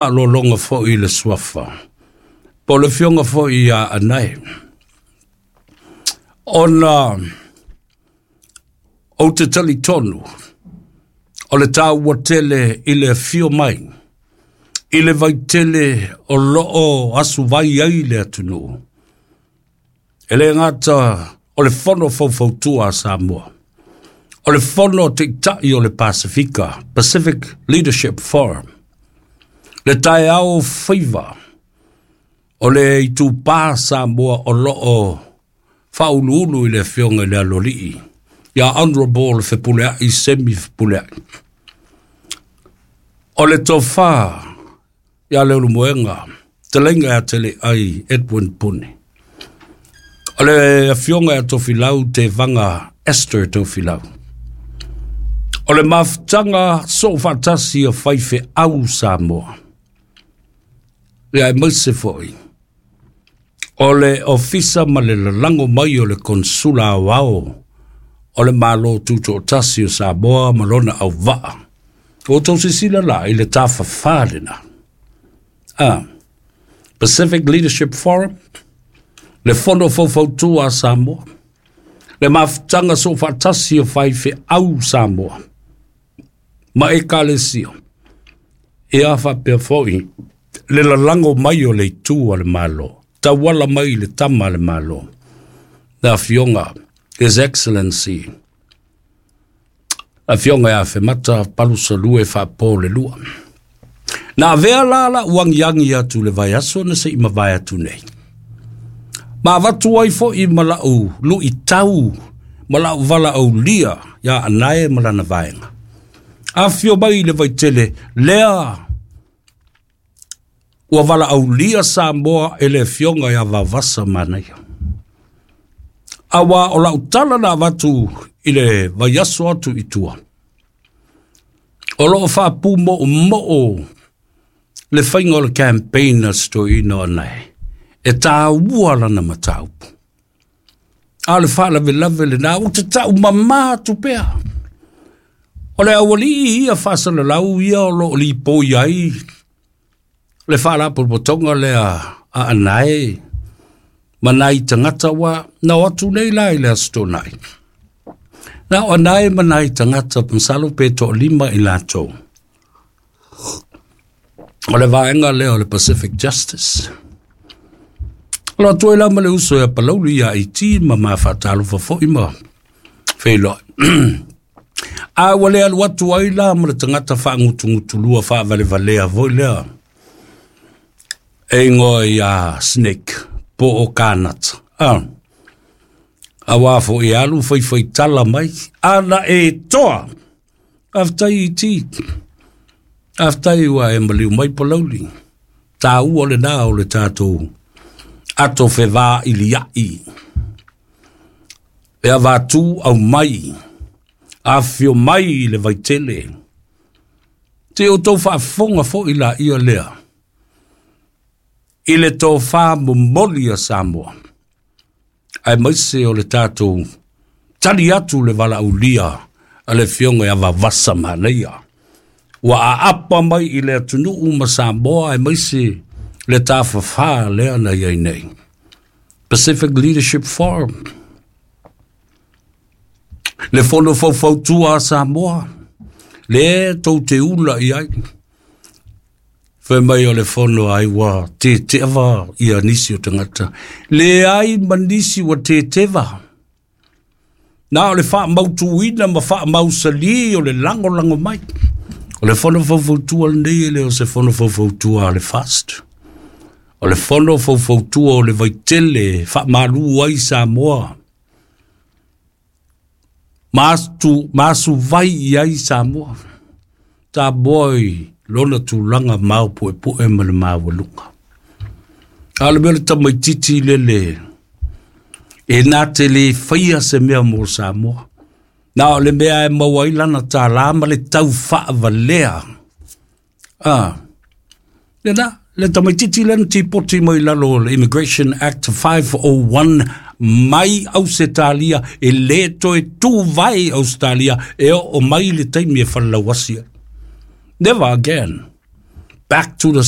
Faalologa foi i le suafa po o le afioga foi ia Anae, ona ou te talitonu o le taua tele i le afio mai i le vaitele o lo o asuvai ai le atunuu. E le gata o le Fono Faufautua a Samoa, o le Fono a Taitai o le Pasefika, Pacific Leadership Forum, le taeao faiva o le itupa Samoa o lo o faauluulu i le afioga i le Aloalii, ia Honorable Fepuleai Semi Fepuleai. O le tofa ia Leulumoega, Teleiga ia Teleai Edwin Puni. O le afioga ia Tofilau Tevaga Esther Tofilau. O le mafutaga soofaatasi a faifeau Samoa. Ia aemaise foi o le ofisa ma le lalago mai o le Konsula Aoao o le Malo Tutoatasi o Samoa ma lona auvaa. Ua outou silasila la i le tafafā lena. Ah, Pacific Leadership Forum, le Fono Faufautua a Samoa, le mafutaga soofaatasi o faifeau Samoa ma ekalesia, ia faapea foi le lalago mai o le itu a le Malo, tauala mai i le tama a le Malo, le afioga His Excellency, afioga ia Afemata Palusalue Faapolelua. Na avea la la'u agiagi atu i le vaiaso na se i mavae atu nei, ma avatu ai foi ma la'u lu'itau ma la'u valaaulia ia Anae ma lana vaega. Afio mai i le vaitele lea ua valaaulia Samoa e le afioga ia Vaovasa Manaia. Aua o la'u tala na avatu i le vaiaso atu i tua, o lo o faapumo'omo'o le faiga o le campaign a si toeaina o Anae, e taua lana mataupu. A o le faalavelave lena, ou te tau mamā atu pea. O le aualii ia faasalalau ia o lo o lipoi ai le faalapotopotoga lea a Anae ma nai tagata ua na o atu nei la i le Aso Toonai. Na o Anae ma nai tagata masalo pe toalima i latou. O le vaega lea o le Pacific Justice. O lo atu ai la ma le uso ia Palauli ia IT ma ma faatalofa foi ma feiloai. A ua le alu atu ai la ma le tagata faagutugutulua faavalevalea foi lea e ingoa ia Snake po o Kanata. Ah. Aua foi e alu faifaitala mai, ana e toa. Faafetai IT. Faafetai ua e maliu mai Palauli. Taua lena o le tatou ato fevailia'i. E avatu aumai, afifio mai i le vaitele. Se i outou faafofoga foi laia lea i le tofa momoli a Samoa, aemaise o le tatou tali atu le valaaulia a le afioga ia Vavasa Manaia, ua aapa mai i le atunuu ma Samoa, aemaise le tafafā lea na i ai nei. Pacific Leadership Forum, le fono faufautua a Samoa, le tou te ula i ai. Fai mai o le fono ai ua teteava ia nisi o tagata. Leai ma nisi ua teteva. Na o le faamautuina ma faamausalī o le lagolago mai. O le fono faufautua lenei e le o se fono faufautua a le FAST. O le fono faufautua o le vaitele faamalu ai Samoa. Ma asuvai i ai Samoa. Samoa i lona tulaga maopuepu'e ma le maualuga. A o le mea o le tamaitiiti lele e na te le faia se mea mo Samoa. Na o le mea e maua ai lana tālā ma le tau faavalea. Ah, lena, le tamaitiiti lea na tipoti mai lalo o le Immigration Act 501 mai Ausetalia e le toe tuvae Ausetalia e oo mai le taimi e falelauasi ai. Never again. Back to the